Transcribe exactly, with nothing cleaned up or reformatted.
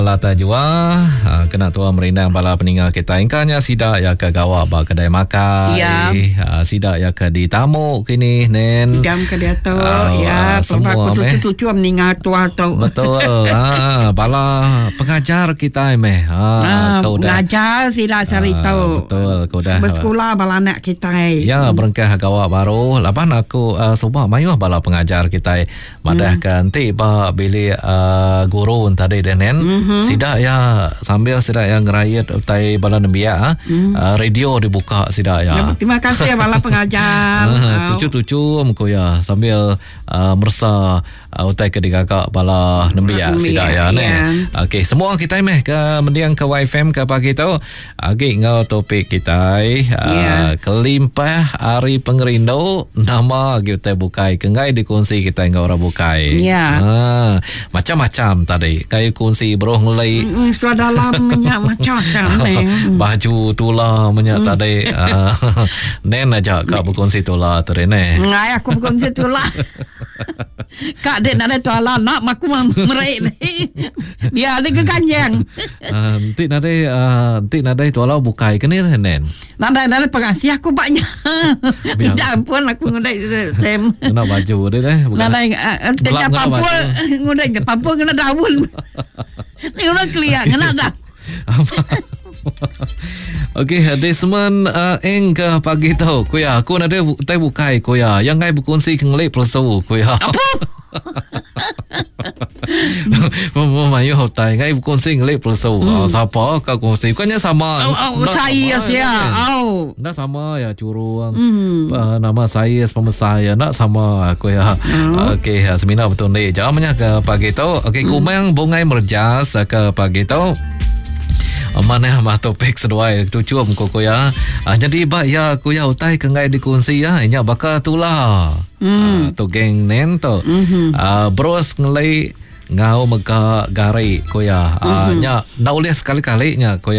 Lata jua ah, kena tua merindang bala peninga kita. Ingkanya sida ya ke gawa ba kedai makai. Ya. Ah, sida ya ke ditamu kini nen. Jam ke dia tu Ah, ya semua pelaba aku meh. tucu-tucu meninggal tua tu. Betul. Ah, bala pengajar kita meh. Ah, Ah, kau dah. ngajar sila sehari Ah, tu. betul, kau dah. Bersekolah bala anak kita. Ya, berengkah gawa baru. Laban aku uh, subah mayuh bala pengajar kita madah kan ti ba bilik uh, guru tadi denen. Mm-hmm. Sidak ya sambil sidak ya ngerayat utai bala nembiak mm. uh, radio dibuka sidak ya. Ya, terima kasih bala pengajar. Ah, tucu-tucu ku ya sambil uh, mersa uh, utai ke digagak bala nembiak Nembiak, sidak ya ne. ya. Okey, semua kita meh ke mendiang ke Y F M ke pagi tu. Agi ngau topik kita uh, Ya. kelimpah hari pengerindu nama agi utai bukai kenggai dikongsi kita ngau orang bukai. Ya. Ha, macam-macam tadi. Kai kongsi beroh ngelai Mm, Setelah dalam minyak macam-macam ni. baju tula minyak hmm. tadi. Uh, nen aja kak berkongsi tula tadi ne. Ngai aku berkongsi tulah. Kak dek nak ada tuala nak aku merik ni. Biar dia ke kanjeng. Uh, nanti nadai uh, nanti nadai tuala bukai ke ni nen. Nadai nadai pengasih aku banyak. Biar. Minta ampun aku ngudai sem. Kena baju dia deh. Bukan. Nadai tanya Belak kena pampul baju. ngudai pampul kena daun. Ni orang keliak kena dah. Okey, Desmond uh, Eng ke pagi tu. Kuya, aku nada tai bukai kuya. Yang ngai berkongsi ke ngelik persu kuya. Apa? Memayu tai ngai berkongsi ngelik persu. Hmm. Siapa kau kongsi? Bukannya sama. Oh, oh, Ndak saya sama, saya. kan? Oh. Ndak sama ya curang. Hmm. Uh, nama saya pemesar ya nak sama aku ya. Hmm. Okey, semina betul ni. Jangan banyak ke pagi tu. Okey, hmm. Kumang bungai merjas ke pagi tu. Mana mah topik seduai tucu am ko ya. Ah, jadi ba ya ku ya utai kengai dikongsi ya nya bakal tulah. Hmm. Ah, tu geng nen tu. Mm-hmm. Ah, bros ngelai ngau mega gari ko ya. Ah, mm-hmm. Nya nak ulih sekali-kali nya ko ya.